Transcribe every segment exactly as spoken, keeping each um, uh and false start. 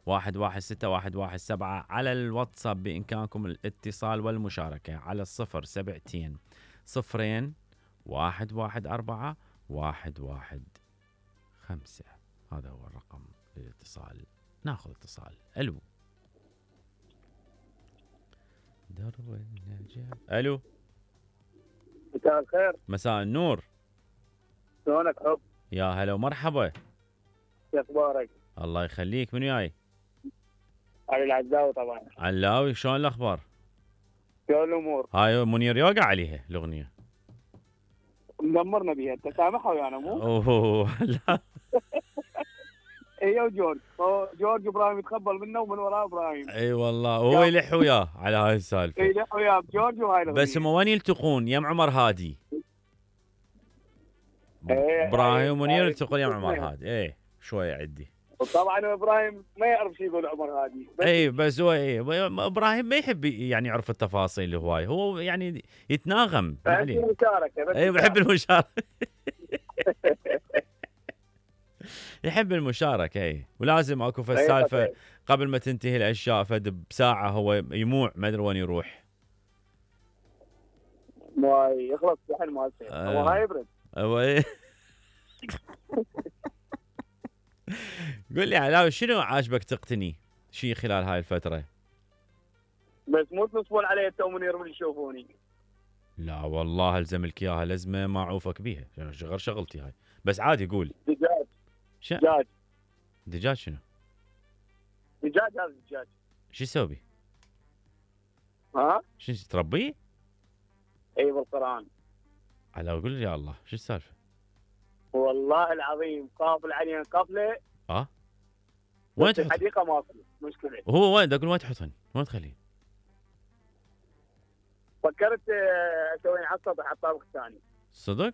واحد واحد ستة واحد واحد سبعة. على الواتساب بإمكانكم الاتصال والمشاركة على الصفر سبعتين صفرين واحد واحد أربعة واحد واحد خمسة. هذا هو الرقم للاتصال. ناخذ اتصال. ألو درب النجاة. ألو مساء الخير. مساء النور. شلونك حب؟ يا هلا ومرحبا. شو اخبارك؟ الله يخليك. من وياي؟ علي العزاوي طبعا. علاوي. شلون الاخبار؟ شلون الامور؟ هاي منير يوقع عليها الاغنيه. مدمرنا بيها. انت سامحها ويانا مو؟ اوه لا. هي وجورج. جورج ابراهيم يتقبل منه ومن وراه ابراهيم. اي والله هو يلح وياه على هاي السالفه. يلح وياه بجورج وهاي الاغنيه. بس هم وين يلتقون؟ يم عمر هادي. إيه ابراهيم ومنير إيه يلتقون يم عمر هادي. ايه شويه عدي. وطبعا ابراهيم ما يعرف شو يقول عمر هادي. اي بس هو ايه ابراهيم ما يحب يعني يعرف التفاصيل هواي. هو يعني يتناغم عليه. المشاركه. اي بحب المشاركه. يحب المشاركه. اي ولازم اكو فالسالفه قبل ما تنتهي الاشياء فد بساعه هو يموع ما ادري وين يروح. ما يخلص شحن مالته. آه. هو هاي يبرد. هو ايه. قل لي علاوي شنو عاجبك تقتني شيء خلال هاي الفتره؟ بس مو تنصبون علي انت ومنير من يشوفوني. لا والله الزم لك اياها لزمه ما اعوفك بيها. غير شغلتي هاي. بس عادي قول. دجاج. ش... دجاج. دجاج شنو؟ دجاج. هذا الدجاج شو تسوي بيه؟ ها؟ شو تربيه؟ اي بالقران. على قول يا الله شو السالفه؟ والله العظيم قافل علينا قفله. اه وين تحط؟ الحديقه ماكو مشكله. هو وين اقول وين تحطهن؟ وين تخليه؟ فكرت اسوي على السطح على الطابق الثاني. صدق؟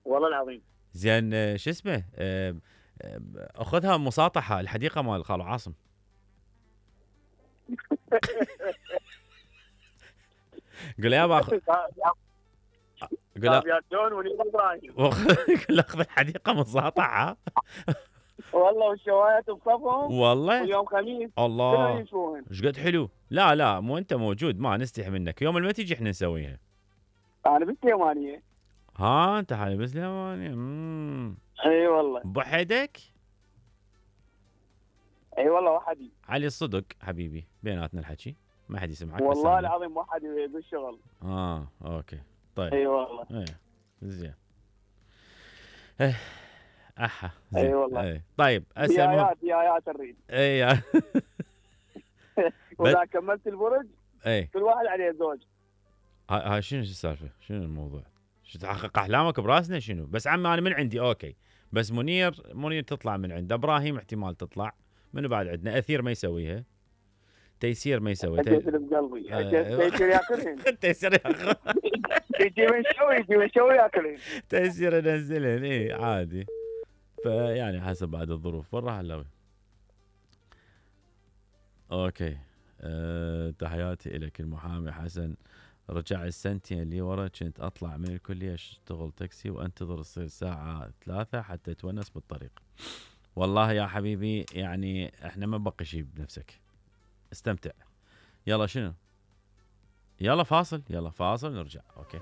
والله العظيم. زين شو اسمه؟ اخذها مساطحه الحديقه مال خالو عاصم. قول يا باخذ. قول يا جون ونير ابراهيم. قول اخذ الحديقه مساطحه. والله والشوايات بصفهم. والله ويوم خميس. الله ايش قد حلو. لا لا مو انت موجود ما نستحي منك. يوم ما تيجي احنا نسويها. انا بالسليمانيه. ها انت حالي بالسليمانيه. امم اي والله. بوحدك؟ اي والله وحدي. علي الصدق حبيبي بيناتنا الحكي ما حد يسمعك. والله العظيم وحدي بالشغل. اه اوكي طيب. اي والله. ايه زين. ايه احا زين. اي والله. ايه طيب اسال ديايات ديايات نريد. اي واذا كملت البرج اي كل واحد عليه زوج. هاي شنو السالفه؟ شنو الموضوع؟ شو تحقق احلامك براسنا شنو؟ بس عمي انا من عندي اوكي. بس منير منير تطلع من عنده. ابراهيم احتمال تطلع. منو بعد عندنا؟ اثير ما يسويها. تيسير ما يسوي. تيسير بقلبي. تيسير ياكلهن. تيسير ياكلهن. يجي من شوي يجي من شوي ياكلهن. تيسير ينزلهن. اي عادي. فيعني حسب بعد الظروف. برا هلاوي. اوكي أه تحياتي لك المحامي حسن. رجع السنتين اللي ورا كنت اطلع من الكليه اشتغل تاكسي وانتظر تصير ساعه ثلاثه حتى تونس بالطريق. والله يا حبيبي يعني احنا ما بقي شيء بنفسك. استمتع. يلا شنو؟ يلا فاصل. يلا فاصل نرجع. اوكي.